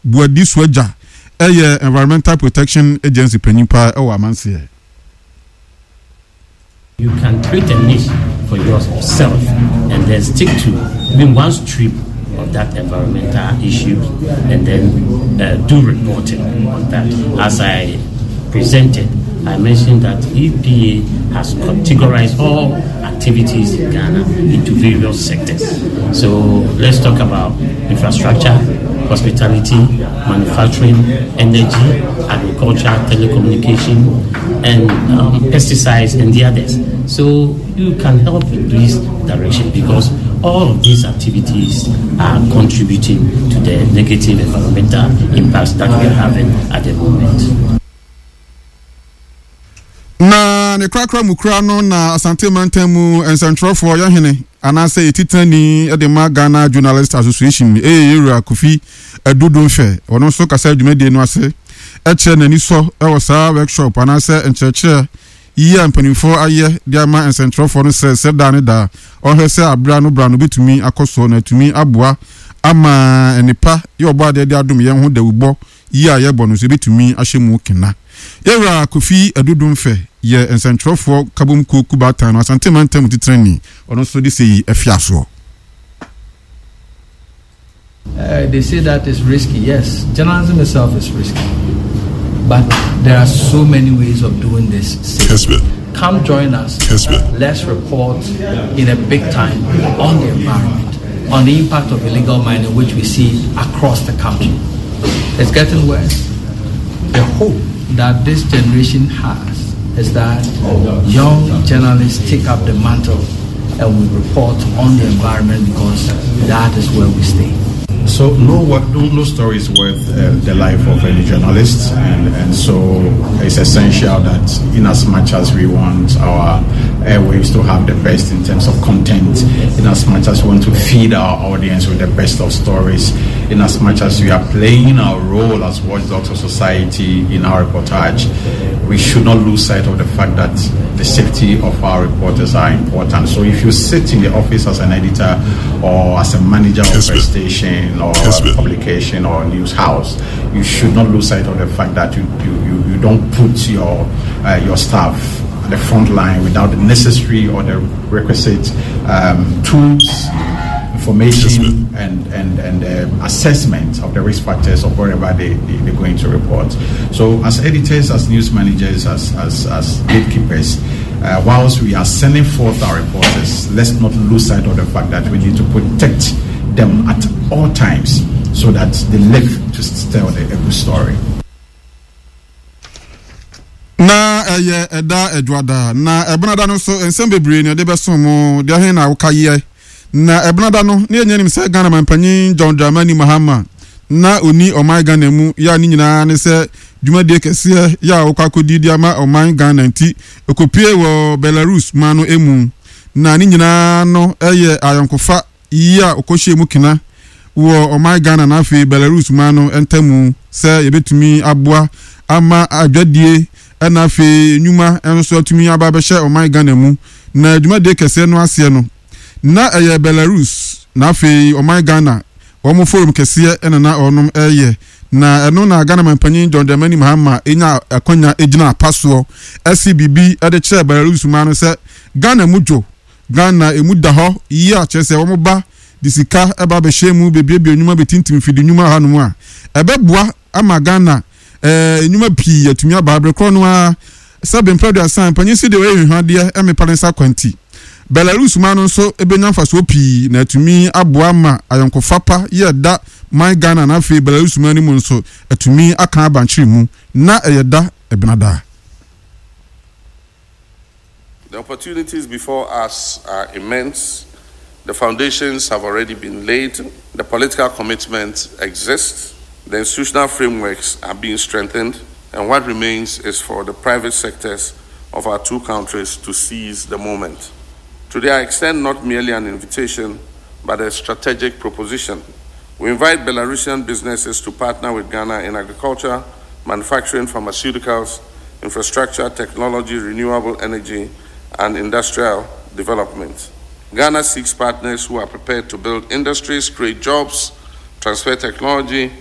Buadi Suagya yɛ Environmental Protection Agency panyin paa wɔ amanseɛ. You can create a niche for yourself and then stick to even one strip of that environmental issue and then uh, do reporting on that. As I presented, I mentioned that EPA has categorized all activities in Ghana into various sectors. So let's talk about infrastructure, hospitality, manufacturing, energy, agriculture, telecommunication, and um, pesticides and the others. So you can help in this direction because all of these activities are contributing to the negative environmental impacts that we are having at the moment. Na ne korakora mu kura no na Asante mantam mu nsɛntwerɛfoɔ yɛhene anaasɛ yɛtitenani de ma Ghana Journalist Association ɛyɛ Yɛwura Kofi Adu Domfɛ. Ɔno nso kasa dwumadie no ase kyerɛ n'anisɔ wɔ saa workshop anaasɛ nkyerɛkyerɛ yi a mpanimfoɔ ayɛ de ama nsɛntwerɛfoɔ no sɛ sɛ daa ne daa ɔhwɛ sɛ abira no bra no bɛtumi akɔ soɔ na atumi aboa ama nnepa yɛ ɔbɔ adeɛ de adom yɛn ho dawubɔ yi a yɛbɔ no nso yɛbɛtumi ahyɛ mu kena. Yɛwura Kofi Adu Domfɛ yɛ nsɛntwerɛfoɔ kabom kuo kubaatan no Asante mantam titenani. Ɔno nso de sei afiasoɔ. Uh, they say that is risky. Yes, journalism itself is risky. But there are so many ways of doing this. Come join us. Let's report in a big time on the environment, on the impact of illegal mining, which we see across the country. It's getting worse. The hope that this generation has is that young journalists take up the mantle and we report on the environment because that is where we stay. So no, no, no story is worth uh, the life of any journalist, and, and so it's essential that in as much as we want our airwaves to have the best in terms of content, in as much as we want to feed our audience with the best of stories, in as much as we are playing our role as watchdogs of society in our reportage, we should not lose sight of the fact that the safety of our reporters are important. So if you sit in the office as an editor or as a manager of a station or a publication or a news house, you should not lose sight of the fact that you, you, you, you don't put your, uh, your staff at the front line without the necessary or the requisite um, tools information and, and, and um, assessment of the risk factors of wherever they, they, they're going to report. So, as editors, as news managers, as, as, as gatekeepers, uh, whilst we are sending forth our reporters, let's not lose sight of the fact that we need to protect them at all times so that they live to tell the, a good story. Na ɛyɛ ɛda Adwuada, na Ɛbenada no nso nsɛm bebree na ɛde bɛsom mo. Deɛ he na woka yeɛ? Na Ɛbenada no, ne yɛnyɛ nim sɛ Ghana manpanyin John Dramani Mahama na ɔni ɔman Ghana mu yɛ a ne nyinaa ne sɛ dwumadie kɛseɛ yɛ a ɔkɔ akɔdi de ama ɔman Ghana nti ɔkɔpue wɔ Belarus man no mu. Na ne nyinaa no yɛ ayɔnkofa yi a ɔkɔhyɛɛ mu kena wɔ ɔman Ghana na afei Belarus man no ntamu sɛ yɛbɛtumi aboa ama adwadie na afei nnwuma nso atumi aba abɛhyɛ ɔman Ghana mu. Na dwumadie kɛseɛ no aseɛ no, na ɛyɛ Belarus na afei ɔman Ghana wɔn forum kɛseɛ na na wɔnom reyɛ. Na ɛno na Ghana manpanyin John Dramani Mahama nya akwanya gyina apa soɔ si biribi de kyerɛɛ Belarus man no sɛ Ghana mu dwo Ghana emu da hɔ yie a kyerɛ sɛ wɔn ba de sika ba abɛhyɛ mu bɛbuebue nnwuma bɛtintim mfidi nnwuma hanom a ɛbɛboa ama Ghana eh, nnwuma pii atumi aba bere korɔ no ara sɛ bempɛ aduasa mpanyin si deɛ ɔyɛ hwehwadeɛ mmepa ne nsa kwanti. Belarus man no nso bɛnya mfasoɔ pii na atumi aboa ma ayɔnkofa pa yɛ da man Ghana na afei Belarus man no mu nso atumi aka abankyere mu na ɛyɛ da ɛbenada. The opportunities before us are immense. The foundations have already been laid. The political commitment exists. The institutional frameworks are being strengthened. And what remains is for the private sectors of our two countries to seize the moment. Today, I extend not merely an invitation, but a strategic proposition. We invite Belarusian businesses to partner with Ghana in agriculture, manufacturing, pharmaceuticals, infrastructure, technology, renewable energy, and industrial development. Ghana seeks partners who are prepared to build industries, create jobs, transfer technology,